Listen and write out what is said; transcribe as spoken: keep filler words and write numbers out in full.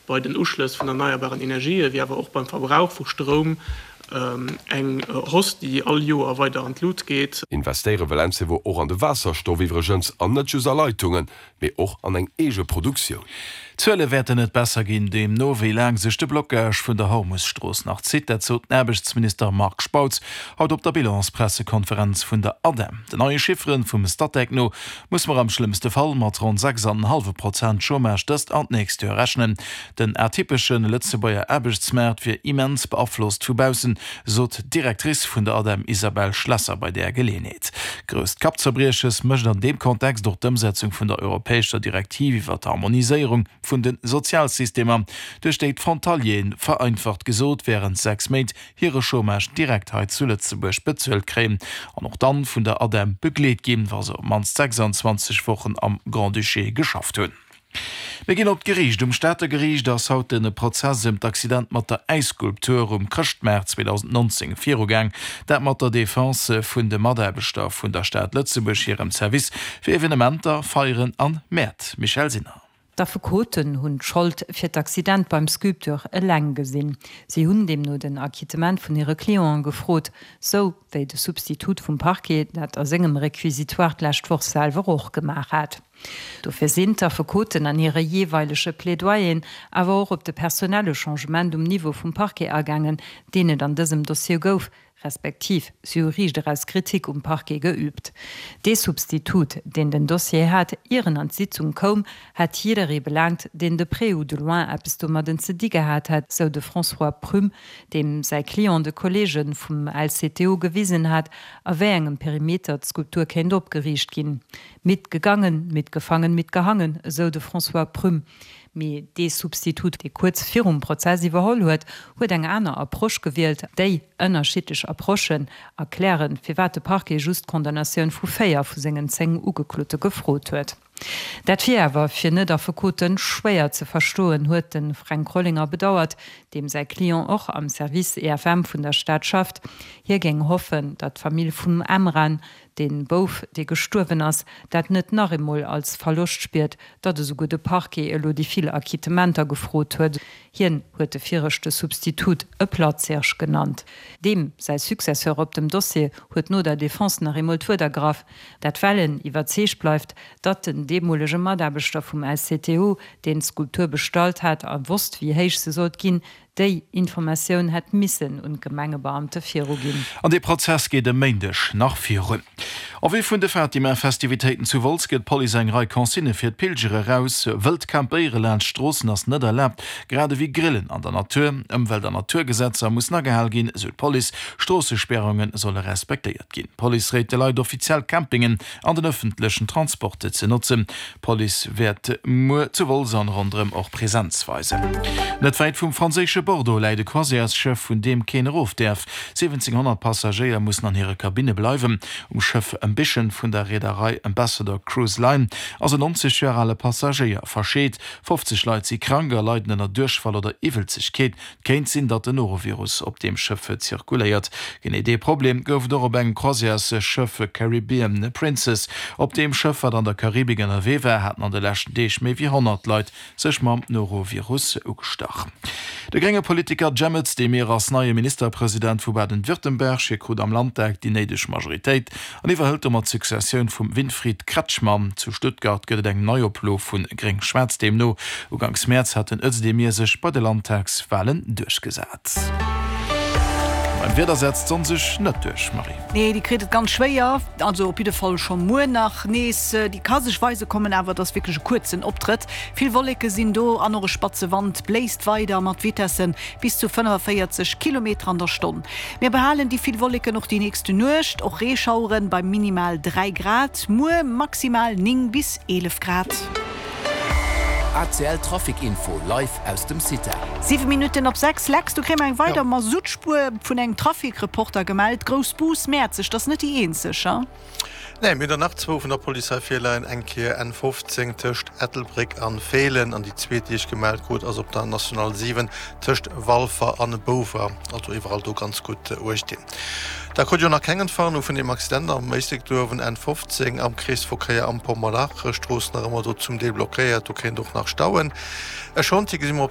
bei den Uschlëss vun erneierbaren Energien, wéi awer och beim Verbrauch vu Stroum eng Hausse, déi all Joer weider an d'Lut geet. Investéiere wëll Encevo och an de Waasserstoff iwwregens, an net just a Leitungen, mee och an eng eege Produktioun. D'Zuele wäerten net besser ginn, deemno wéi laang sech de Blockage vun der Hormus-Strooss nach zitt. Dat sot den Aarbechtsminister Marc Spautz haut op der Bilanspressekonferenz vun der ADEM. Den neie Chiffere vum Statec no muss mer am schlëmmste Fall mat ronn sechs an en hallwe Prozent Chômage dëst an d'nächst Joer rechnen. Den atypesche Lëtzebuerger Aarbechtsmaart wier immens beaflosst vu baussen, sot d'Directrice vun der ADEM Isabelle Schlesser bei där Geleeënheet. Grousst Kappzerbrieches mécht an deem Kontext och d'Ëmsetzung vun der europäescher Direktiv iwwer d'Harmoniséierung vun de Sozialsystemer, duerch déi d'Frontalieren, vereinfacht gesot, wärend sechs Méint hire Chômage direkt hei zu Lëtzebuerg bezuelt kréien an och dann vun der ADEM begleet ginn, wa se op d'mannst sechsundzwanzeg Wochen am Grand-Duché geschafft hunn. Mir ginn op d'Geriicht. Um Stater Geriicht ass haut de Prozess ëm d'Accident mat der Äisskulptur um Chrëschtmaart zweedausendnonzéng virugaang. Dat mat der Defense vun de Mataarbechter vun der Stad Lëtzebuerg hirem Service fir Evenementer, Feieren an Mäert. Michèle Sinner. D'Affekoten hunn d'Schold fir d'Accident beim Sculpteur eleng gesinn. Si hunn deemno den Acquittement vun hire Clienten gefrot, sou wéi de Substitut vum Parquet dat a sengem Réquisitoire d'lescht Woch selwer och gemaach hat. Dofir sinn d'Affekoten an hire jeeweilege Plaidoyeren awer och op de personelle Changement um Niveau vum Parquet agaangen, deen et an dësem Dossier gouf, respektiv si hu riicht eraus Kritik um Parquet geüübt. Dee Substitut, deen den Dossier hat, ier en an d'Sitzung koum, hätt jidderee belaangt, deen de près ou de loin eppes domadden ze di gehat hätt, sou de François Prüm, deem säi Client de Kolleege vum L C T O gewisen hat, a wéi engem Perimeter d'Skulptur kéint opgeriicht ginn. Mitgegangen, mitgefangen, mitgehangen, esou de François Prüm. Mee dee Substitut, dee kuerz virum Prozess iwwerholl huet, huet eng aner Approche gewielt. Déi ënnerschiddlech Approchen erklären, firwat de Parquet just d'Condamnatioun vu véier vu sengen zéng Ugeklote gefrot huet. Dat wier awer fir Net-Affekote schwéier ze verstoen, huet de Fränk Rollinger bedauert, deem säi Client och am Service E F M vun der Stad schafft. Hie géing hoffen, datt d'Famill vum Emran, de Bouf, dee gestuerwen ass, dat net nach eemol als Verloscht spiert, datt esouguer de Parquet elo déi vill Acquittementer gefrot huet. Hien huet de viregte Substitut e Platzhirsch genannt. Deem säi Successeur op dem Dossier huet no der Defense nach eemol d'Wuert ergraff, dat well en iwwerzeegt bleift, datt den deemolege Mataarbechter vum L C T O, deen d'Skulptur bestallt hat a wosst, wéi héich se sollt ginn, déi Informatioun hätt missen un d'Gemengebeamte viruginn. An dee Prozess geet e Méindeg nach virun. En vue vun de Fatima-Festivitéiten zu Wolz gëtt d'Police eng Rei Consignë fir d'Pilger eraus. Wëllt campéiere laanscht Stroossen ass net erlaabt, grad ewéi Grillen an der Natur. Ëmwelt an Naturgesetzer mussen agehal ginn, esou d'Police. Stroossespäerunge solle respektéiert ginn. D'Police réit de Leit, offiziell Campingen an den ëffentlechen Transport ze notzen. D'Police wäert muer zu Wolz an ronderëm och Presenz weisen. Net wäit vum franséische Bordeaux läit e Croisièresschëff, vun deem keen erof däerf. siwwenzénghonnert Passagéier mussen an hire Kabinne bleiwen. Um Schëff Ambition vun der Reederei Ambassador Cruise Line ass en neunzeg Joer ale Passagéier verscheet. fofzeg Leit si krank a leiden ënner Duerchfall oder Iwwelzegkeet. Et kéint sinn, datt den Norovirus op deem Schëff zirkuléiert. Genee dee Problem gouf et och op engem Croisièresschëff Caribbean Princess. Op deem Schëff, wat an der Karibik ënnerwee war, haten an de leschten Deeg méi wéi honnert Leit sech mam Norovirus ugestach. De grénge Politiker Cem Özdemir ass neie Ministerpresident vu Baden-Württemberg. Hie krut am Landtag déi néideg Majoritéit an iwwerhëlt domat d'Successioun vum Winfried Kretschmann. Zu Stuttgart gëtt et eng Neioplo vu Gréng-Schwaarz. Deemno uganks Mäerz hat den Özdemir sech bei de Landtagswalen duerchgesat. Beim Wieder setzt d'Sonn sech net duerch, Marie. Nee, déi kritt et ganz schwéier, also op jidde Fall scho muer nach nees. Déi ka sech weise kommen, awer et ass wierklech e kuerzen Optrëtt. Vill Wolleke sinn do an och e spatze Wand bléist weider mat Vitesse bis zu fënnefaféierzeg Kilometer an der Stonn. Mir behalen déi vill Wolleken och déi nächste Nuecht, och Reeschaueren bei minimal dräi Grad, muer maximal néng bis eelef Grad. A C L Trafic Info live aus dem CITA. Siwe Minutten op sechs, Lex, do kréie mer eng weider Masuttspuer vun engem Trafic-Reporter gemellt. Grouss Bus, Mäerzeg, dat ass net déi eenzeg, ha? Nee, mir hunn der nach zwou vun der Police hei virleien, eng Kéier N fofzéng tëscht Ettelbréck an Feelen an déi zweet, déi ech gemellt krut, ass op der National siwen tëscht Walfer an Bouwer. Also iwwerall do ganz gutt uecht dinn. Da krut jo nach keng Entwarnung vun deem Accident am Éislek do uewen, N fofzéng am Kreesverkéier am Pommerlach, Strooss nach ëmmer do zum Deel blockéiert, do kéint och nach stauen. E Chantier gesi mer op der.